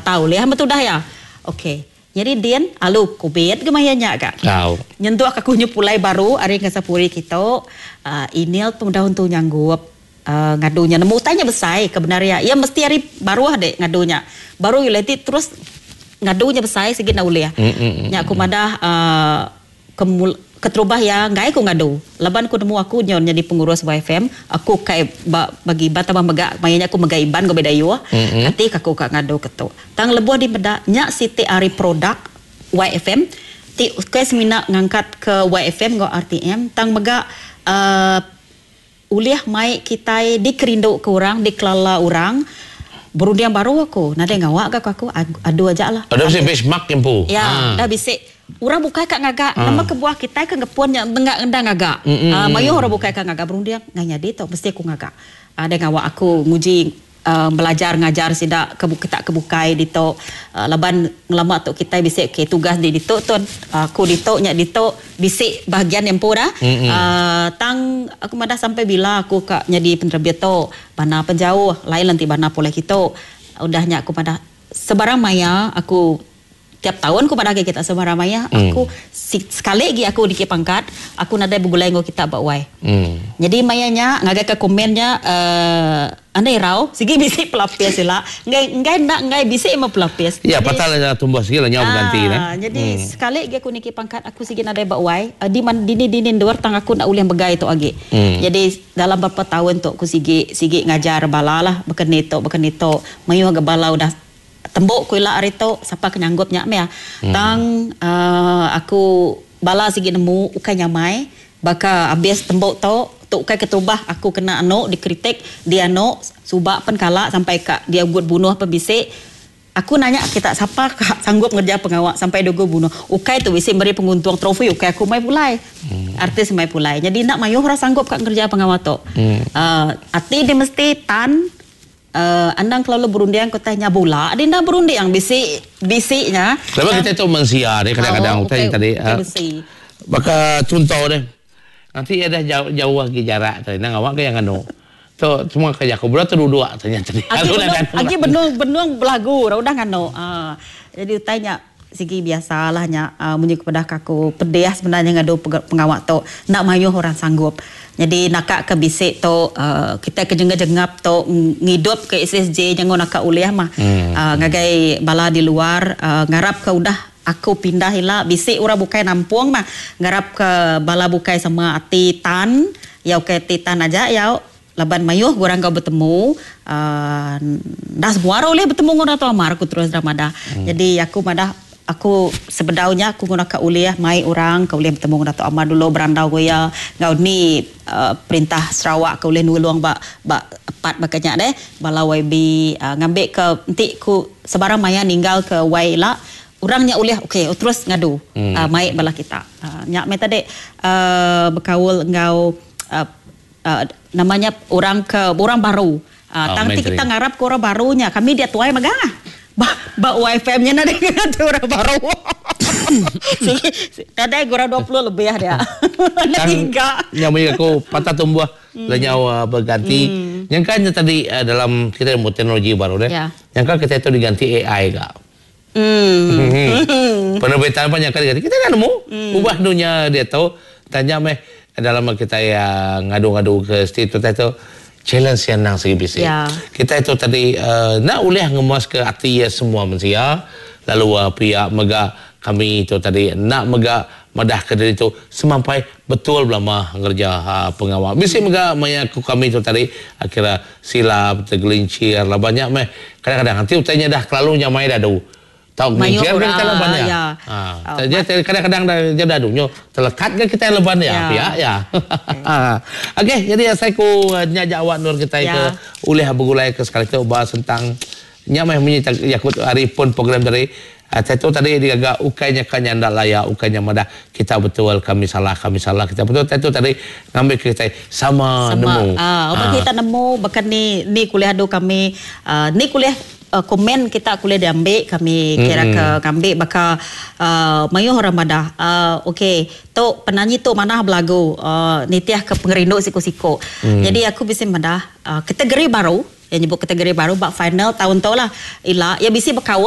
Lata ulih meh tudah iya. Ok. Nyadi din alu kubit ga maya nya ga. Tau. Nyentuk ka aku nyu pulai baru ari Angkasa Puri kitu uhh email pun udah untu nyanggup uhh ngadu nya nemu utai nya besai ke bendar iya. Iya mesti ari baruh dik ngadu nya. Baru ulih ti terus ngadu nya besai sigi enda ulih. Nya aku madah uhh Ke keterubah iya enggai ku ngadu laban ku nemu aku nyau nyadi pengurus YFM aku kai ba bagi Iban tambah mega maya nya aku megai Iban enggau Bidayuh kati ka aku ka ngadu ke tu. Tang lebuh di meda nya siti ari produk YFM ti ukai semina ngangkat ke YFM enggau RTM tang mega uhh Ulih mai kitai dikerindu ke orang, dikelala orang, berunding baru aku, nadai ngawa ga ku aku, adu aja lah. Udah bisi benchmark nya empu. Ya, udah bisi. Orang bukai ka ngaga, nama kebuah kitai ke ngepun nya enda enda ngaga. Mayuh orang bukai ka ngaga berunding, ngai nyadi tu mesti aku ngaga. Nadai ngawa aku nguji Belajar ngajar sida ke kita ke bukai ditu laban ngelama tu kitai bisi okay tugas di ditu tu aku ditu nya ditu bisi bahagian iya empu dah uhh tang aku madah sampai bila aku ka nyadi penerbit tu bana penjauh lain enti bana pulai kitu udah nya aku madah sebarang maya aku Tiap taun ku madah agi kita semua ramai iya, aku sekali agi aku dikit pangkat, aku nadai begulai enggau kita ba wai. Nyadi maya nya ngagai ke komen nya uhh enda irau sigi bisi pelapis ila enggai enggai enda enggai bisi meh pelapis. Iya pasal nya tumbuh sigi lah nyau beganti neh. Nyadi sekali agi aku niki pangkat aku sigi nadai ba wai di dini dini endur tang aku enda ulih megai tu agi. Nyadi dalam berapa taun tu aku sigi sigi ngajar bala lah baka ni tu baka ni tu mayuh ga bala udah Tembu ku ila ari tu sapa ke nyanggup nya mih. Tang uhh aku bala sigi nemu ukai nyamai baka abis tembu tu, tu ukai keterubah aku kena anu dikritik dianu suba pen kala sampai ka diugut bunuh pen bisi. Aku nanya kita sapa ka sanggup ngereja pengawa sampai diugut bunuh. Ukai tu bisi meri penguntung trofi ukai aku mai pulai. Artis mai pulai. Nyadi enda mayuh orang sanggup ka ngereja pengawa tu. Uhh ati dia mesti tan. Anang kelalu berunding ke utai nya bula deh enda berunding bisi bisi nya. Laban kitai tu mensia deh kadang-kadang utai nya tadi baka chunto deh enti iya dah jauh jauh agi jarak tadi nang awak ke iya nganu tu semua ke jaku bela tu duduk te nya tadi. Agi benung agi benung benung belagu udah nganu jadi utai nya sigi biasa lah nya munyi ke peda aku pedih sebenarnya ngadu pengawa tu enda mayuh orang sanggup. Nyadi naka ke bisi tu kitai ke jengap-jengap tu ngidup ke SSJ nyengu naka ulih mah ngagai bala di luar ngarap ke udah aku pindah ila bisi orang bukai nampung mah ngarap ke bala bukai sama ati tan yau ke ati tan aja yau laban mayuh orang enggau betemu uhh enda semua orang ulih betemu enggau Dato Amar ku terus deka madah. Nyadi aku madah Aku sebedau nya aku nguna ka ulih mai orang ke ulih betemu enggau Datuk Amar dulu berandau enggau iya enggau ni perintah Sarawak ke ulih nulung ba ba part baka nya deh bala YB ngambi ke enti ku sebarang maya ninggal ke Y ila orang nya ulih ok terus ngadu mai bala kita. Nya meh tadi bekaul enggau nama nya orang ke orang baru. Tang ti kita ngarap ke orang baru nya kami dia tuai mega. Ba ba YFM nya nadai ngena ti orang baru. Nadai orang 20 lebih dia. Tang nya mih aku patah tumbuh lenyau beganti. Nyangka nya tadi dalam kita nemu teknologi baru deh. Nyangka kita tu diganti AI ga. Penerbitan pun nyangka diganti. Kita enda nemu ubah dunya diatu. Tang nya meh dalam kitai ngadu-ngadu ke siti tu tu challenge iya endang sigi bisi. Kitai tu tadi enda ulih ngemuaska ati iya semua mensia lalu pia mega kami tu tadi enda mega madahka diri tu semampai betul belama ngereja pengawa. Bisi mega maya ku kami tu tadi kira silap tegelincir laban nya meh kadang-kadang enti utai nya dah kelalu nyamai dadu. Tau Mayuh nginjil ga orang kitai laban iya. Ya. Ha. Dia kadang-kadang dah nya dadu nyu telekat ga kitai laban iya pia iya. Okey jadi asai ku nya ja awak endur kitai ke ulih begulai ke sekali tu ba sentang nya meh munyi jaku ari pun program tadi. Tai tu tadi digaga ukai nya ka nyanda laya ukai nya madah kita betul kami salah kami salah kita betul. Tai tu tadi ngambi ke kitai sama Sama nemu. Uban kita nemu baka ni ni kulih adu kami ni kulih Komen kita ke ulih diambi kami kira ke ngambi baka mayuh orang madah ok tu penanyi tu manah belagu nitih ke pengerindu siku-siku. Nyadi aku bisi madah kategori baru iya nyebut kategori baru ba final taun tu lah ila iya bisi bekaul.